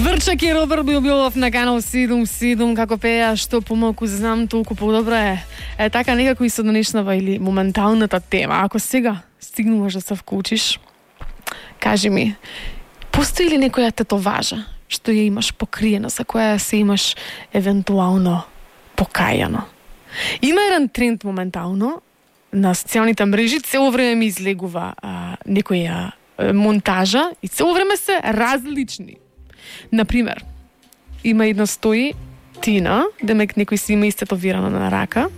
Врчак и Роберт Билов на канал 77, како пеја, што помалку знам, толку подобро е. Така некако и со денешнава или моменталната тема. Ако сега стигнуваш да се вклучиш, кажи ми, постои ли некоја тетоважа што ја имаш покриена, за која се имаш евентуално покајано? Има еден тренд моментално на социјалните мрежи, цело време ми излегува некоја монтажа и цело време се различни. Например, има една стои Тина, демек некој си има истетовирано на рака,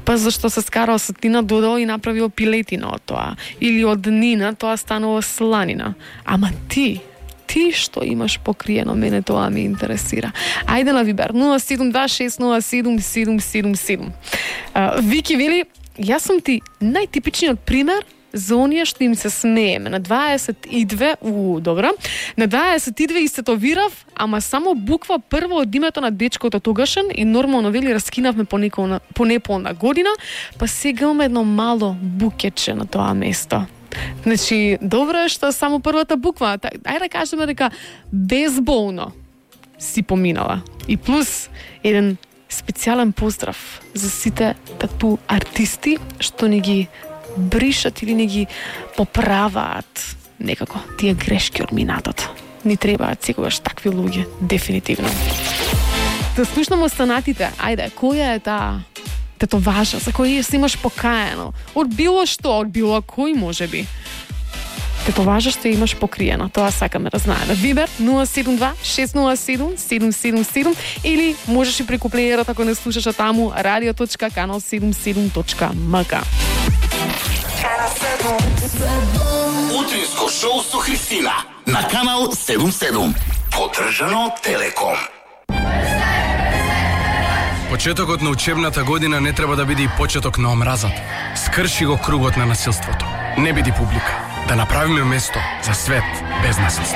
па зашто се скарал со Тина, додал и направил пилетина од тоа. Или од Нина, тоа станува сланина. Ама ти што имаш покриено, мене тоа ме интересира. Ајде на Вибер 072607777. Вики вели, јас сум ти најтипичниот пример за оние што им се смееме. На 22, добра. На 22 истетовирав, ама само буква прва од името на дечкото тогашен и нормално вели раскинавме по неполна година, па сега имаме едно мало букетче на тоа место. Значи, добро е што само првата буква, ајде да кажеме дека безболно си поминала. И плюс еден специјален поздрав за сите тату артисти што ни ги бришат или не ги поправаат некако тие грешки од минатото. Ни требаат секогаш такви луѓе, дефинитивно. Да слушнам останатите. Ајде, која е таа тетоважа за која се имаш покаено? Од било што, од било кој можеби. Тетоважа што имаш покриено, тоа сакаме да знаеме. Вибер 072-607-777 или можеш и преку плеерот ако не слушаш таму radio.canal77.mk. Утринско шоу со Христина на канал 77. Поддржано од Телеком. Почетокот на учебната година не треба да биде и почеток на омразата. Скрши го кругот на насилството. Не биди публика. Да направиме место за свет без насилство.